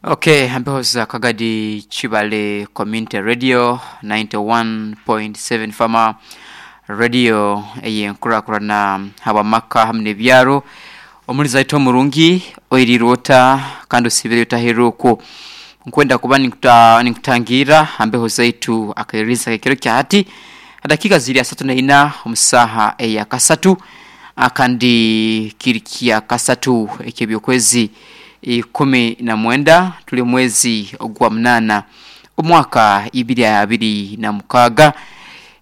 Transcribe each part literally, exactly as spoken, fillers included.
Okay, ampehoza Kagadi Chibale Community Radio ninety-one point seven Fama Radio eyenkurakurana habamaka hamwe n'ebyaro omulizi aitu omurungi oirirwota kandi osibire otaheruku. Nkwenda kuba ninkuta, ninkutangira ambeho zaitu akaiririza kekiro kya hati dakika ziri asatu na ina omusaha eya kasatu, kandi kiri kya kasatu ekyebyokwezi ikumi na mwenda, tuli mwezi ogwa munana omwaka ibiri abiri na mukaaga.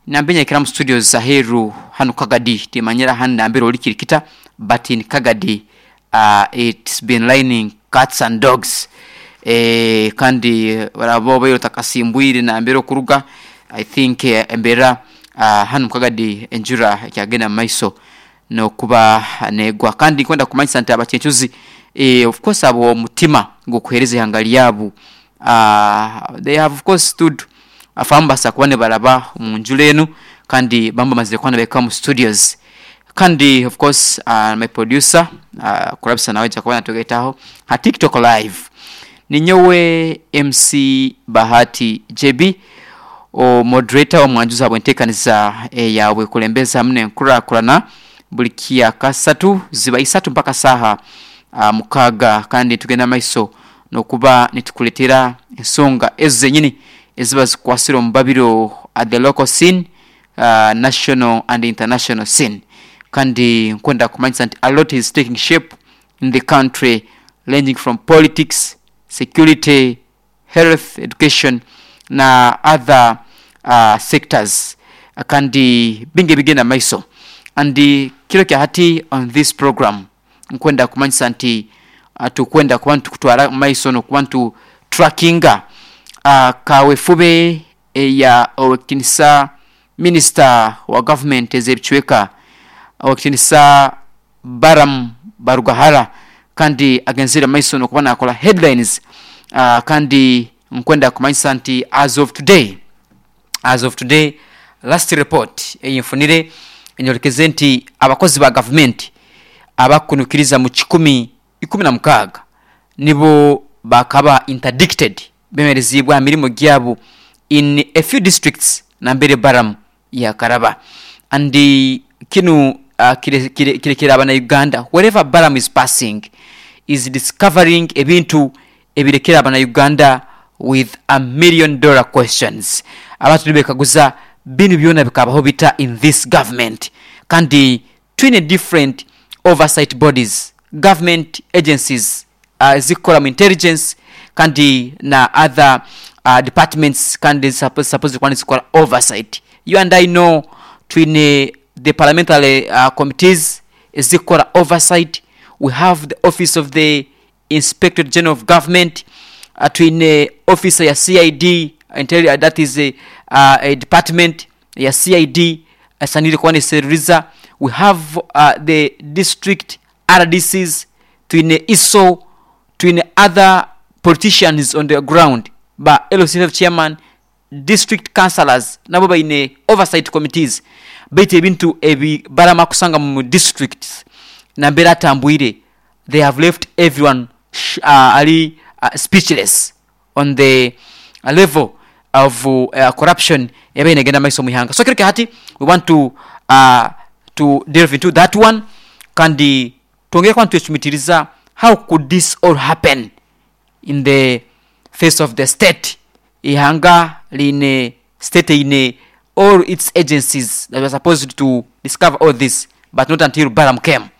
Nambenyekera mu studio zaheru hano Kagadi, timanyira hano nambere oli kirikita, but in Kagadi uh, it's been raining cats and dogs. eh, kandi barabo bayo takasimbwire nambere okuruga. I think eh, embera uh, hano mukagadi enjura ekyagenda mu maiso nokuba negwa. Kandi nkwenda kumanyisa nti abakyenchuzi, eh, of course abo omutima gw'okuheereza ihanga lyabu, uh, they have of course stood afambasa kuba nibaraba omu njura enu, kandi bamba bamazire kuba nibahika mu studios. Kandi of course uh, my producer uh, kurabisa nawe aija kuba natugaitaho ha TikTok Live. Ninyowe M C Bahati J B, o moderator omwanjuzi habwenteekaniza eyawe kulembeza hamwe n'enkurakurana buli kya kasatu ziba isatu mpaka saha uh, mukaaga. Kandi tugenda maiso nokuba nitukuletera ensonga ezo zenyini eziba zikwasire omu babiro at the local scene, uh, national and international scene. Kandi nkwenda kumanyisa nti a lot is taking shape in the country, ranging from politics, security, health, education na other uh, sectors, kandi bingi ebigenda maiso. And kiro kya hati on this program nkwenda kumanyisa nti uh, tukwenda kuba nitukutwara maiso nokuba nitu trackinga uh, kawefube eya owekitinisa minisita wa government ez'ebicweka, owekitinisa Baram Barugahara, kandi agenzere maiso nokuba nakola headlines. uh, kandi nkwenda kumanyisa nti as of today as of today last report eyinfunire enyolekeze nti abakozi ba gavumenti abakunukiriza mu kikumi ikumi na mukaaga nibo bakaba interdicted, bemerezibwa aha mirimo gyabo in a few districts nambere Baram yakaraba. And kinu uh, kirekera abana Uganda, wherever Baram is passing is discovering ebintu ebirekera abana Uganda with a million dollar questions. Abantu nibekaguza binu byona bikabaho bita in this government? Kandi twine different oversight bodies, government agencies uh, zikora mu intelligence kandi na other uh, departments, kandi supposed supposed kuba nizikora oversight. You and I know twine the parliamentary uh, committees ezikora oversight, we have the Office of the Inspector General of Government, uh, twine office ya C I D intel, uh, that is a, uh, a department ya C I D esanire kuba neseruriza, we have uh, the district R D Cs, twine I S O, twine other politicians on the ground, ba L C F chairman, district councillors, nabo baine oversight committees. Baitu ebintu ebi barama kusanga mu districts nambere atambwire, they have left everyone sh- uh, ali uh, speechless on the uh, level of uh, corruption eba inagenda maiso muihanga. So kiro hati we want to uh, to delve into that one, kandi twongere kuba nitwecumitiriza how could this all happen in the face of the state. Ihanga line state ine all its agencies that were supposed to discover all this, but not until Baram came.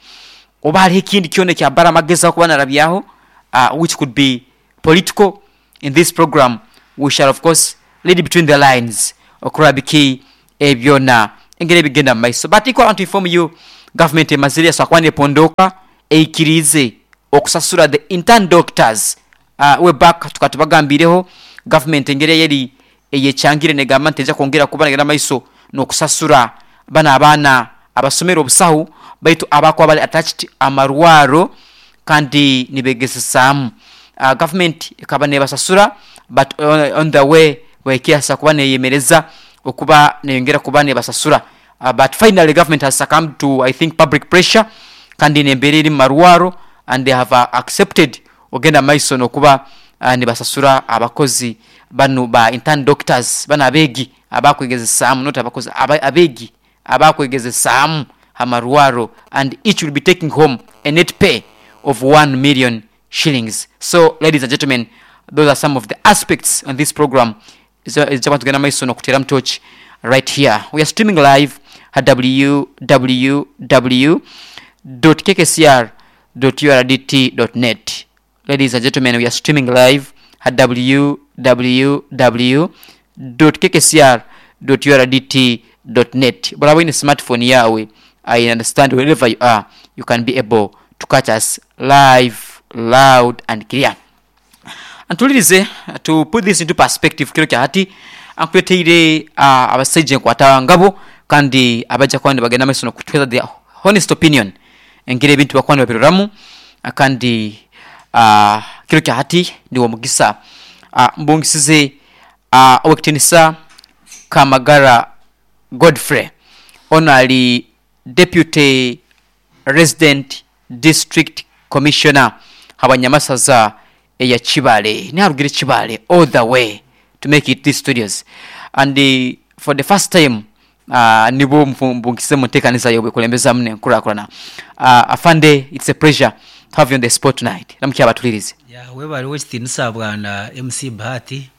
Oba hariho ekindi kyona ekya Baram agezaho kuba narabyaho, uh, which could be political. In this program we shall of course read between the lines okuraba biki ebyona engeri ebigenda mu maiso. But equal, I want to inform you, government emazire yasobola kuba nepondoka eikirize okusasura the intern doctors. uh, way back tukatubagambireho government engeri eyeri eyekyangire negamba nti eja kwongera kuba negenda maiso n'okusasura bano abaana abasomere obusahu, baitu abakuba bali attached amarwaro kandi nibegesesaamu. uh, government ekaba nebasasura, but on, on the way bwekyasa kuba neyemereza okuba neyongera kuba nebasasura. uh, but finally government has succumbed to, I think, public pressure kandi nembeera eri mu marwaro, and they have uh, accepted ogenda maiso nokuba uh, nibasasura abakozi banu ba intern doctors bano abeegi abakwegezesaamu, not abakozi, aba, abeegi abakwegezesaamu amarwaro, and each will be taking home a net pay of one million shillings. So ladies and gentlemen, those are some of the aspects on this program ezaba tugenda maiso nokuteramu torch right here. We are streaming live at w w w dot k k c r dot u r d t dot net. Ladies and gentlemen, we are streaming live at w w w dot k k c r dot u r d t dot net. But in smartphone yawe, I understand wherever you are, you can be able to catch us live, loud and clear. Antulirize, to put this into perspective, kiro kya hati ankuleteire uh, abasaija enkwata ngabo kandi abajja kuba nibagenda maiso nokutweza their honest opinion engeri ebintu bakuba nibabiroramu. Kandi uh, kiro kya hati niwo mugisa uh, mbungisize uh, owekitinisa Kamagara Godfrey, ono ali Deputy Resident District Commissioner habanyamasaza eya Kibale, niharugire Kibale all the way to make it these studios, and uh, for the first time uh, nibo mbungisize munteekaniza yobukulembeza nenkurakurana. uh, afande, it's a pleasure to have you on the spot tonight. Namukyaba tulirize. Ya, webale wekitinisa bwana M C Bahati,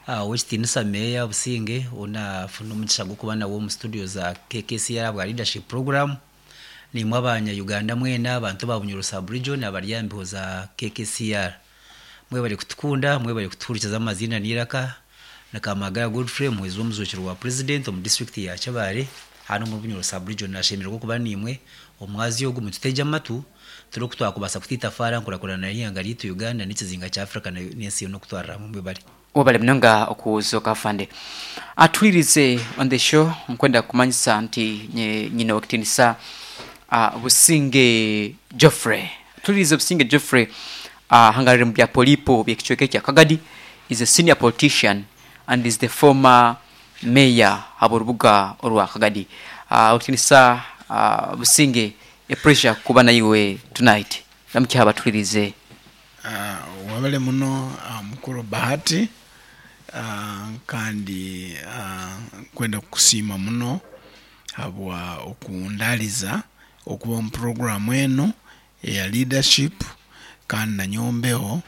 uh, wekitinisa meya Businge, onafuna omugisha gw'okuba nawe omu studio za K K C R bwa leadership program. Nimwe abanya Uganda mwena, abantu ba Bunyoro sub region abari ambiho za K K C R, mwebale kutukunda, mwebale kutuhurikiza. Amazina n'iraka na Kamagara Godfrey, muhwezi w'omuzukiro wa president omu district ya Kyabare hano mu Bunyoro sub region. Nashemererwa kuba nimwe omwazi ogu mututege amatu turi kutwakubasa kutitafara nkurakurana n'ihanga ryitu Uganda n'ikizinga kya Africa n'ensi yona okutwarira hamwe. Mwebale. Webale munonga okuzoka, afande. Atulirize, on the show nkwenda kumanyisa nti nye- nyina wakitinisa uh, Businge Geoffrey. Atulirize, Businge Geoffrey uh, hangarire mu bya polipo byekicweka kya Kagadi, is a senior politician and is the former mayor aborubuga orwa Kagadi. uh, wakitinisa uh, Businge, a pleasure kuba naiwe tonight. Namukyaba tulirize. Uh, wabale muno uh, mukuru Bahati, uh, kandi uh, nkwenda kukusiima muno habwa okundaliza okuba mu programu eno eya leadership, kandi nanyombeho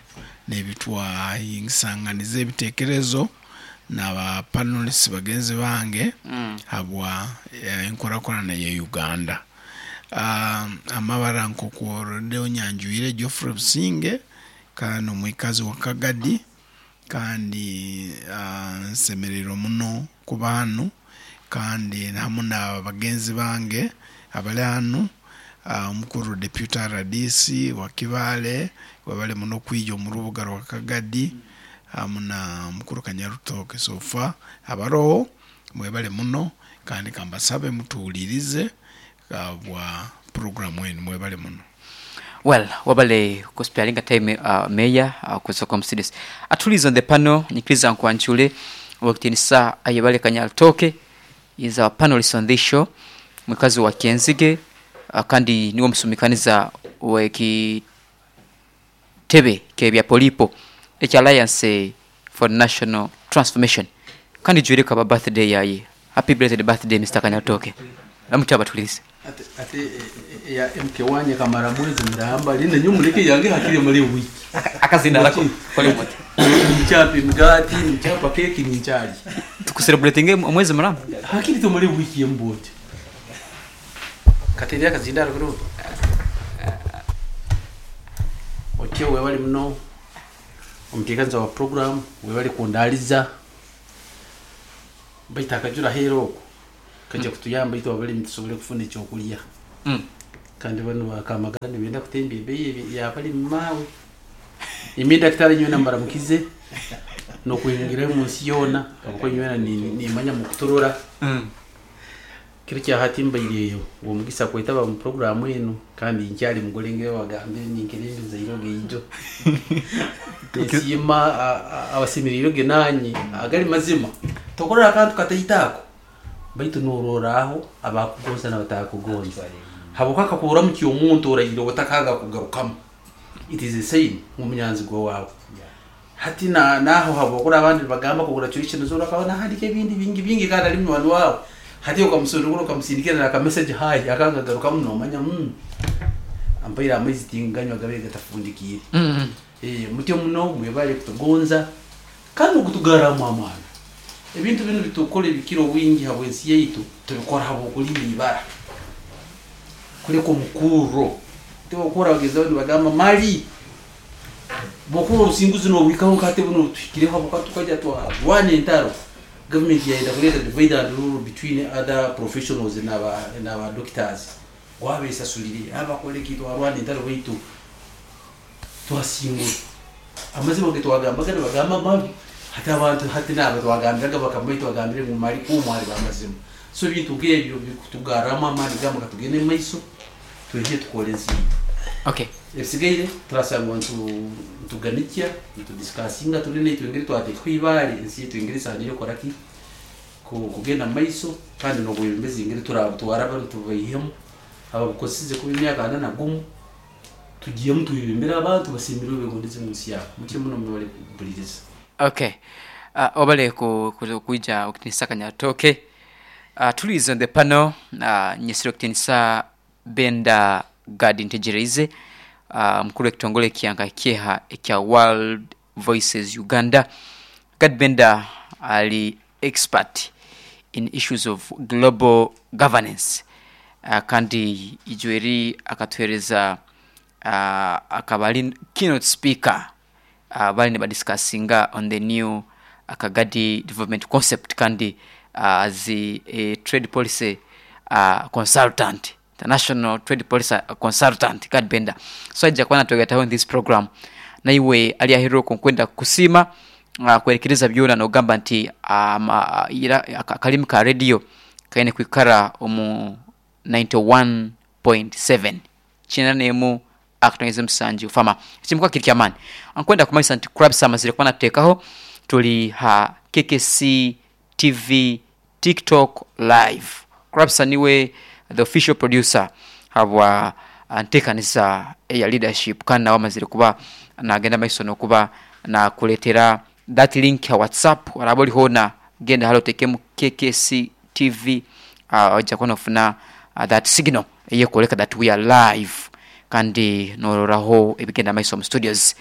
nebitwahingisanganiza ebitekerezo n'aba panelists bagenzi bange mm. habwa eh, enkurakurana ya Uganda. uh, amabara nkokuorodde onyanjwire, Geoffrey Businge, kandi omwikazi wa Kagadi, kandi uh, nsemererwa muno kuba hanu kandi hamu na bagenzi bange abali hanu, uh, omukuru deputy R D C wa Kibale, wabale muno kwija omu rubuga rwa Kagadi, hamu na mukuru Kanyarutoke. Sofa abaroho, mwebale muno, kandi kambasabe mutuwulirize uh, bwa programu enu. Mwebale muno. Well, wabale kusparinga time, uh, mayor, uh, kusoka msides. Atulize, on the panel nyikiriza nkwanchule wakitinisa Ayebale Kanyaltoke, is our panelist on this show, mukazi wa Kenzige, uh, kandi niwo musumikaniza wekitebe kebya polipo ekya Alliance for National Transformation, kandi jwireka ba birthday yaye. Happy belated birthday, Mister Kanyaltoke. Namukyaba tulirize. Ate ate eh, ya M K wanye kamara mwezi muramba line nyumuleke yange hakiri muri wiki. Akazina lako kole mote. Nichapa imigati, nichapa keki, nichali. Tukucelebratinge omwezi muramba. Hakiri to muri wiki yembote kateria akazindaro kuro otyo. Webali muno omuteekaniza wa program, webali kundaliza, baitu akajura hero oko kajja kutuyamba itwe abalimi tusobole kufuna ekyokulya. Mm. Kandi bano bakamagara nibenda kutemba ebeeyi yabalimi maawe. Imi daktari nyowe mbaramukize nokuhingira munsi yoona, kuko nyowe nimanya mukuturura. Mm. Kiro kya hati mbaireyo uwo mugisa kwetaba mu programu eno, kandi nkyali mugolenge wagambe ninkerembeza iroge ijo nsiima abasemerire iroge nanye agali mazima tokorora akantu kataitako, baitu norora abakugonza n'abatakugonza habuka kakuramu omuntu orahire otakanga kugarukamu. It is a sign nk'omunyanzigwa wawe. Hati na naho habokura abandi bagamba congratulations urakaona handika ebindi bingi bingi kandi ali munywani wawe. Hati okamusundukura okamusindikira na ka message hi akangagaruka muno manya mm ampaira amaizi tinganywa gabe gatafundikiire. Mm. Eh, mutyo muno mwebale kutugonza kandi okutugaramu amaani. Ebintu bino bitukora ebikiro wingi habwensi yaitu tubikora habwokulinda ibara kuleka omukuro tibokora bagezaho nibagamba mali bokura obusinguzi nobwikaho nkate buno tuhikireho habwokuba tukajya twarwana entaro. Government yaenda kuleta divide and rule between other professionals n'aba n'aba doctors wabesasulire abakole ki twarwana entaro baitu twasingura amazima ge twagambaga nibagamba mabi. Hati abantu hati nabo twagambiraga bakambaye twagambire ngu mali kumwari bamazima. So ebintu nk'ebyo bikutugarramu amaani gamba katugende mu maiso twije tukore ensi yaitu. Okay. Ebisigaire turasanga ntu ntuganikya ntudiscussinga turi naitwe engeri twateekaho ibaare ensi yaitu engeri esaaniire kukora ki Ku- kugenda mu maiso kandi n'obwebembezi engeri turabutwara tubaihemu ababukosize kuba emyaka ana na gumu tugiyemu twebembere abantu basiimirwe begondeze mu nsi yabo. Mutyo muno mwebale kumpuliriza. Okay. Uh, obale ku, ku, kuija okutinisa kanyatoke. Uh, tulize on the panel uh, nyesire okutinisa Benda Gad Ntegereize, uh, mukuru w'ekitongole ekyanka kyeha ekya World Voices Uganda. Gad Benda ali expert in issues of global governance. Uh, kandi ijweri akatuhereza uh, akaba ali keynote speaker uh, bali nibadiscussinga on the new Kagadi development concept kandi uh, as a, a trade policy uh, consultant, international trade policy consultant Gad Benda. So ajja kuba natwegataho in this program naiwe ali aheru nkwenda kusiima uh, kwerekereza byona nogamba nti um, uh, ira- aka- akalimi ka radio kaine kwikara omu ninety-one point seven kyenda n'emu akatonyeza musanju fama ekimuka kiri kyamaani. Nkwenda kumanyisa nti kurabisa amazire kuba natuteekaho tuli ha K K C T V TikTok live. Kurabisa niwe the official producer habwa nteekaniza eya leadership kandi nawe amazire kuba nagenda maiso nokuba nakuleetera that link ya WhatsApp oraba ori hoona genda hali oteekemu K K C T V, uh, ojja kuba nofuna, uh, that signal eyekwoleka that we are live kandi nororaho ebigenda maiso mu studios.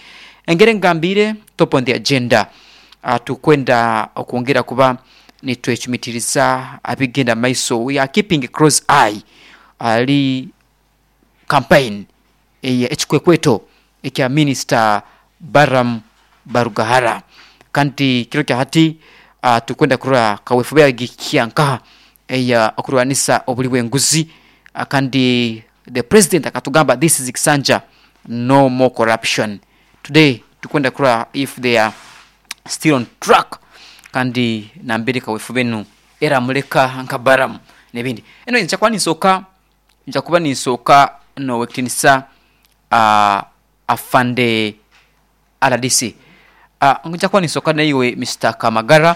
Engeri ngambire top on the agenda, uh, tukwenda okwongera kuba nitwecumitiriza abigenda maiso. We are keeping a close eye ali campaign eya ekikwekweto ekya Minister Baram Barugahara kandi kiro kya hati, uh, tukwenda kurora kaweefube yagikiankaha eya okurwanisa obuli bw'enguzi, uh, kandi the president akatugamba this is Kisanja, no more corruption. Today tukwenda kurora if they are still on track kandi nambere kaweefube nu era muleka nka Baram n'ebindi. Anyway, nja kuba ninsooka, nja kuba ninsooka nowekitinisa, uh, afande R D C. Uh, nja kuba ninsooka naiwe Mister Kamagara,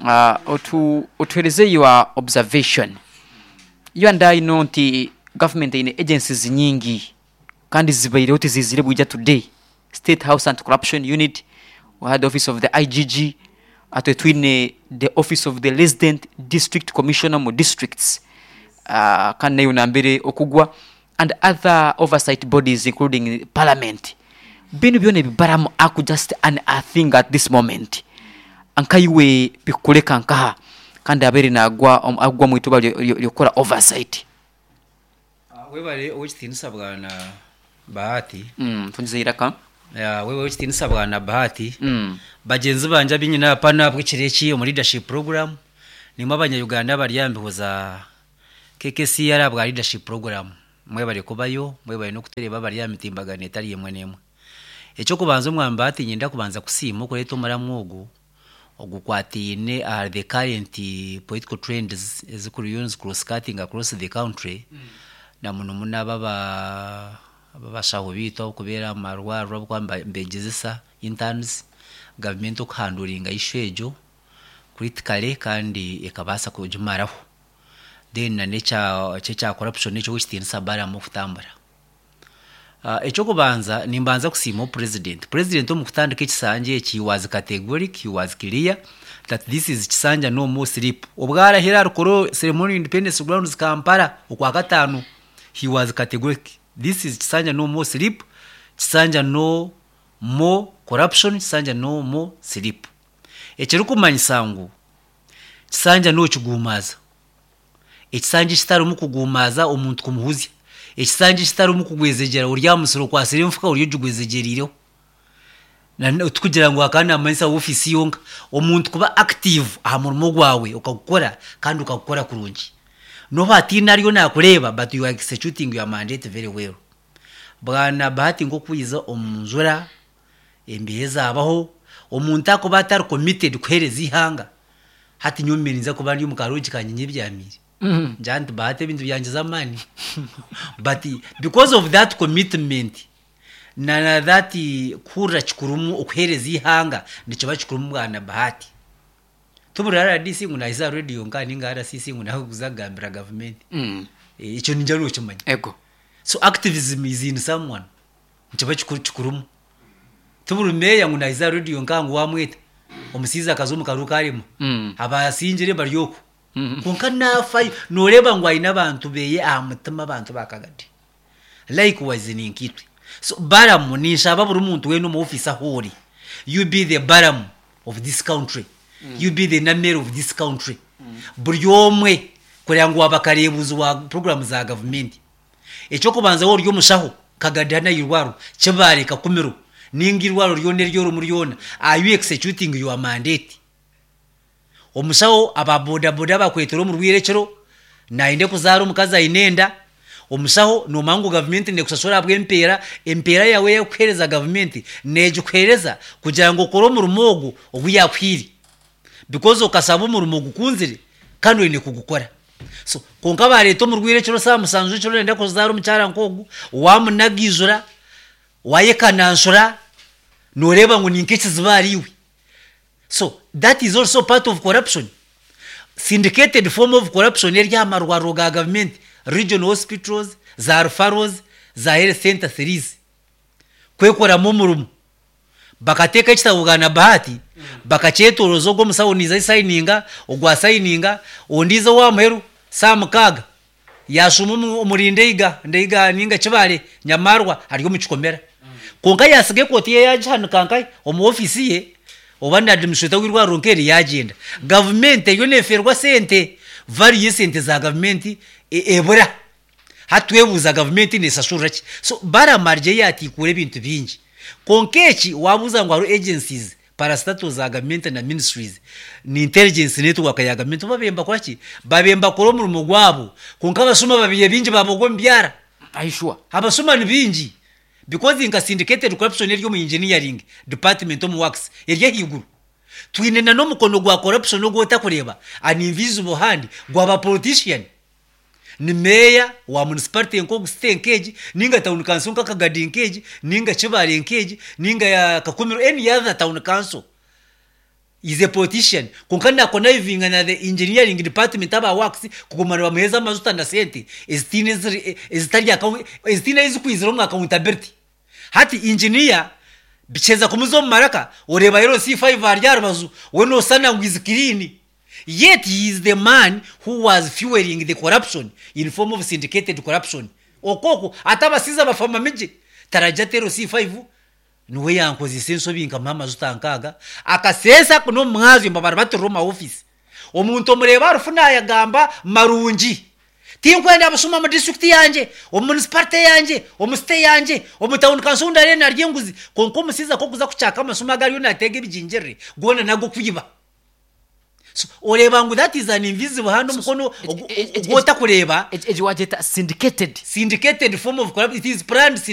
uh, otu, otuhereze your observation. You and I know nti government ine agencies nyingi kandi zibaireho tizizire bwija today. State House Anti-Corruption Unit, we had the office of the I G G, ate twine the office of the Resident District Commissioner mu districts, uh, kandi nayo nambere okugwa, and other oversight bodies including parliament. Bino byona ebibaramu aku just an a thing at this moment. Ankaiwe bikuleka nkaha kandi abere nagwa om-, agwa mu ituba lyo-, lyo-, lyokora oversight. Ah, webale owekitinisa bwana Bahati. Mm, tunziiraka. Ya, wewe owekitinisa bwana Bahati. Mm. Bagenzi banje abinyina apana bw'ekiro omu leadership program nimwe abanya-Uganda baryambiho za K K C R bwa leadership program. Mwebale kubayo, mwebale n'okutereba bari aha mitimbagano etari emwe n'emwe. Ekyokubanza omwami Bahati nyenda kubanza kusiima okureeta omuramu ogu ogukwataine aha the current political trends ezikuriyo nizicross-cutting across the country. Mm. Na muno muno aba abashaho biitu abakubeera omu marwariro abakuba mba-, mbegyezesa interns, gavumenti okuhanduringa issue egyo critically kandi ekabaasa kugimaraho. Then na n'ekya, ekya corruption ekyo ekitiinisa Balaam okutambura. Uh, ekyokubanza nimbanza kusiima president. President omu kutandika ekisanja eki, he was categoric, he was clear that this is kisanja no more sleep. Obwarahira arukoro ceremony, Independence Grounds, Kampala, okwa kataano, he was categoric: this is kisanja no more sleep, kisanja no more corruption, kisanja no more sleep. Ekirikumanyisa ngu kisanja nokigumaza, ekisanja ekitarimu kugumaza omuntu kumuhuzya, ekisanja ekitarimu kugwezegyera ori aha musiri okwasire enfuka ori ogigwezegyeriireho. Tukugira ngu akaba namanyisa ofiisi yonka omuntu kuba active aha murimo gwawe, okagukora kandi ukagukora kurungi, noba hatiine ariyo nakureeba, but you are executing your mandate very well. Bwana Bahati, nk'okwiza omu njura embeho ezabaho, omuntu akuba atari committed kuheereza ihanga. Hati nyowe ninza kuba ndi omu karungi kanye nyebyamiire, ngira nti Bahati ebintu byangye z'amaani, but because of that commitment na na that kuhurira kikurumu okuheereza ihanga nikiba kikurumu. Bwana Bahati, tubura R D C ngu nahiza radio nka ninga R C C ngu nawe kuza kugambira gavumenti. Mm. Ekyo ninja nokimanya. Ego. So activism is in someone, nikiba kikuru kikurumu. Tuburi meya ngu nahiza radio nka ngu wamweta omusiizi akaza omu karuka arima Mm. abasingire bari oku, Mm. konka nafayo noreeba ngu aine abantu beye aha mutima, abantu bakagadi. Likewise ninkitwe. So Balamu, ninshaba buri muntu wena omu office ahu ori, you be the Balamu of this country, you be the Namere of this country. Buri omwe kureba ngu waba kareebuzi wa program za gavumenti. Ekyokubanza, wowe ori omushaho Kagadi irwaro Kibaare, Kakumiro, ninga irwaro ryona eryorimu ryona, are you executing your mandate? Omushaho aba bodaboda bakwetera omu rwirekero nayende kuzaara omukazi aine enda. Omushaho nomanya ngu gavumenti nekushashura ahabw'empeera, empeera yawe eyekuheereza gavumenti negikuheereza kugira ngu okore omurimo ogu ogu yakuhiire, because okasaba omurimo gukunzire kandi oine kugukora. So konka bareeta omu rwirekero saa musanju ekiro nenda kuzaara omukyara nk'ogu, wamunagijura, wayekananshura, noreeba ngu ninka ekizibu ahariiwe. So that is also part of corruption, syndicated form of corruption eri aha marwariro ga gavumenti, regional hospitals, za referrals, za health center threes, kwekoramu omurimo. Bakateeka ekitabo, bwana Bahati, bakakyetoroza, ogwo omusawo niza sayininga, ogwa sayininga, ondiizo wa muheru saa mukaaga yashuma omu- omuri Ndeiga Ndeiga ninga Kibale Nyamarwa ari omu kikomera, konka yasiga ekooti ye yagihanika nkaye omu ofisi ye, oba na administrator w'irwariro nkeri yagyenda. Gavumenti eriyo neferwa sente, value y'esente za gavumenti e- ebura. Hatwebuuza gavumenti nesashurira ki? So baramarye yatikura ebintu bingi. Konka eki wabuuza ngu hariho agencies, parastatals za gavumenti na ministries ni intelligence network ya gavumenti, babemba kora ki? Babemba kora omurimo gwabo, konka abasuma babiye bingi babogwa omu byara. Aishwa. Abasuma ni bingi, because nka syndicated corruption eri omu engineering department, omu works eri ahaiguru. Twine na n'omukono gwa corruption ogwotakureeba, an invisible hand gwaba politician, ni meya wa municipality nk'ogu, city nk'egi, ninga town council nka Kagadi nk'egi, ninga Kibaare nk'egi, ninga ya Kakumiro, any other town council is a politician, konka nakonnivinga na the engineering department, aba works, kuguma nibamuheeza amajuta na sente ezitiine eziri- ezitari account- ezitiine ezikwizira omu accountability. Hati engineer bikyeza kumuza omu maraka, oreeba L C five ari aha rubaju, we noosana ngu is clean, yet he is the man who was fueling the corruption in form of syndicated corruption. Okoko ate abasiiza bafamamigye tarajya ati L C five niwe yankozesa ensobi nkamuha amajuta nkaaga akaseesa n'omumwazyo mbabara baturira omu maofisi. Omuntu omureeba arufu nayagamba marungi, tinkwenda abasuma mu district yangye, omu municipality yangye, omu city yangye, omu town council ndare narya enguzi, konka omusiiza kokuza kukyaka amasuma agariyo nateega ebijingirire goona nago kwiba. So oreeba ngu that is an invisible hand, omukono Egi- egi- ogwotakureeba. Egi wagyeta syndicated. Syndicated form of corruption. It is planned.